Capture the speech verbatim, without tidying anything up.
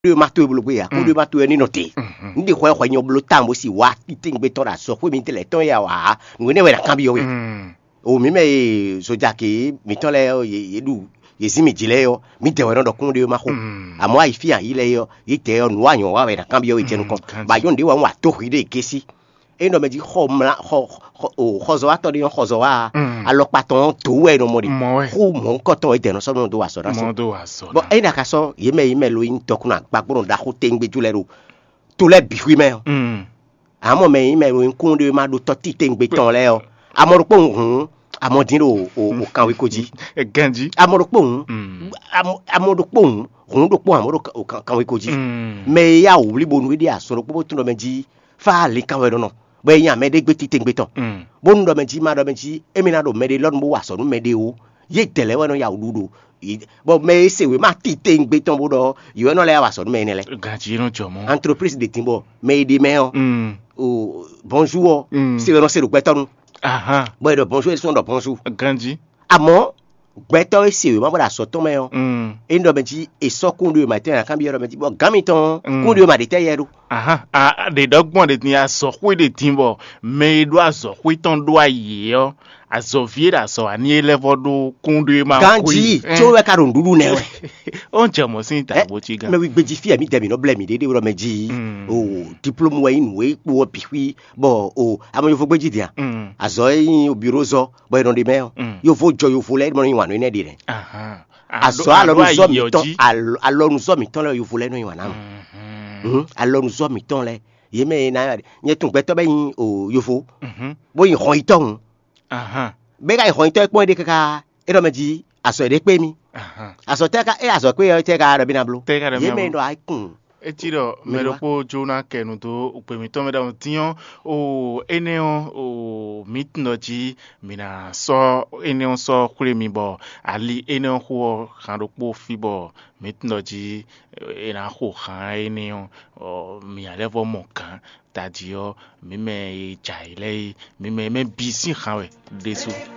ɖé ma towe bló gbé ya kó ɖé ma towe ní nɔ te. Ní ɖe xɔ xɔ nyɔ bló tán bó si wá títí gbé tɔn ɖo azɔ xwé mi tɛlɛ tɔn ya wá. Nǔ énɛ́ wɛ na kanbyɔ we. O mǐ mɛ e zojaki mǐtɔn lɛ́ɛ ɔ́, yě ɖu yě zín mì jí lɛ́ɛ ɔ́, mǐdɛɛ wɛ nɔ ɖɔ kún ɖé ma xo. Àmọ́ ayi fí ayi lɛ́ɛ ɔ́, yě dɛɛ ɔ́, nǔ wa nyɔ̌ wa wɛ na kanbyɔ we jɛ nukɔn. Ba yɔn ɖě wɛ wá tó hwi ɖé gé sí. Ényí ɖɔ mɛ jí xɔ mla xɔ xɔ- o xɔzɔ́watɔ́ ɖé nyɔ́ xɔzɔ́wa ǎ, alɔkpa tɔn ɔ́ dǒ wɛ è nɔ mɔ ɖe. Mɔ wɛ. Xú mɔ̌hunkɔtɔn e dɛ̌ nɔ sɔ́ nɔ dó wa azɔ̌ ná sɔ. Mɔ dó wa azɔ̌ Bɔn ná. Ényí ɖɔ a ka sɔ́ yě mɛ yě mɛ lo nyí dɔkun agbagbɔ́nɔ ɖaxó tɛngbéjú lɛ́ɛ ɖo to lɛ́ɛ bǐ xwí mɛ ɔ́, Mm. Amɔ mɛ nyí mɛ e kún ɖé ma ɖó tɔ́ titewungbe tɔn lɛ́ɛ ɔ́, amɔ ɖokpó hǔn amɔ dín ɖo o o kanweko jí. Ganjí. Amɔ ɖokpó hǔn Mm. amɔ- amɔ ɖokpó hǔn hǔn ɖokpó amɔ ɖo o kan- kanweko jí. Mm. Mɛ e yá wǔ wlí bónú é ɖe azɔn ɖokpó bó tún ɖɔ mɛ jí fá linkan wɛ nɔ nɔ, bɔ é nyí amɛ ɖé gbé titewungbe tɔn. Mm. Bónú ɖɔ mɛ jí ma ɖɔ mɛ jí émí ná ɖo mɛ ɖé lɔnu bó wa azɔ̌ nú mɛ ɖé ó. Yě dɛ̌ lɛ́ɛ wɛ nɔ ya wǔ ɖu ɖo bɔ mɛ e se wěma titewungbe tɔn bó ɖɔ yě wɛ nɔ lɛ́ ya wa azɔ̌ nú mɛ énɛ́ lɛ́ɛ. Ganjí nɔ jɔ mɔ. Entreprise ɖě dín bɔ mɛ e ɖe mɛ ɔ́ Mm. o bonjour ɔ́ Mm. se wɛ nɔ se ɖo gbɛtɔ́ nu Ahan. Bɔ è ɖɔ bonjour é sɔn ɖɔ bonjour. Ganjí. Àmọ́ gbɛtɔ́ e se wěma bɔ ɖo azɔ̌ tɔn mɛ ɔ́ Mm. é ɖɔ mɛ jí è sɔ́ kúnɖó e ma tɛ́ nǎ kanbyɔ́ ɖɔ mɛ jí bɔ gǎn mitɔn Mm. kúnɖó e ma ɖě tɛ́ yɛ ɖó. Ahan. A- a- ɖe ɖɔ gbɔn ɖe tin azɔxwé ɖe tin bɔ mɛ e ɖó azɔxwé tɔn ɖó ayǐ ɔ́, azɔ̌ví e ɖo azɔ̌ ani e lɛ́ vɔ ɖó kúnɖó e ma Ganjí xwé. Tí ó wɛ ka ɖo nǔɖuɖu nɛ wɛ. Ó ń jẹ mɔ̌ sín ta bó cí gán. Mɛ wí gbéjì fí ɛ mí dɛ mǐ nɔ blɛ mǐ ɖéɖé ɖɔ mɛ jí Mm. o diplôme wɛ nyí nǔ e kpo ɔ́ bǐ xwí bɔ o amɔ yovo gbéjì dia Mm. Azɔ̌ e nyí o bureau zɔ bɔ è nɔ ɖe mɛ ɔ́ Mm. Yovo jɔ yovo lɛ́ɛ nɔ nyi wǎn nú énɛ́ ɖe nɛ. Ahan. Azɔ̌ alɔnuzɔ mǐtɔn alɔnuzɔ mǐtɔn lɛ́ɛ yovo lɛ́ɛ nɔ nyi wǎn ná mɛ. Mhm. Alɔnuzɔ mǐtɔn lɛ́ɛ yě mɛ e ná nyɛ tun gbɛtɔ́ bɛ nyi o yovo Mhm. Bó nyi xɔnyitɔ́ hǔn. Ahan. Bɛ ka nyi xɔnyitɔ́ e kpɔ́n é ɖe káká é ɖɔ mɛ jí azɔ̌ ɖé kpé mì. Ahan. Azɔ̌ tɛ́ ka é azɔ̌ kpé ɔ́ tɛ́ ka ɖɔ mí ná bló. Tɛ́ ka ɖɔ mí Yě ná mɛ bló. Ɖɔ ayikun. Etí ɖɔ mɛ Mɛ ɖokpó jó ná kɛ nu dó gbe mǐtɔn mɛ ɖɔhun dín ɔ́, o énɛ́ ɔ́, o mǐ tunɔ jí mǐ ná sɔ́ énɛ́ ɔ́ sɔ́ xwlé mi bɔ ali énɛ́ ɔ́ xo ɔ́ han ɖokpó fí bɔ mǐ tunɔ jí è nǎ xo han énɛ́ ɔ́, mǐ ná lɛ́ vɔ mɔ gǎn tají ɔ́, mǐ mɛ e jɛ ayǐ lɛ́ɛ é, mǐ mɛ mɛ bǐ sín han wɛ ɖésú.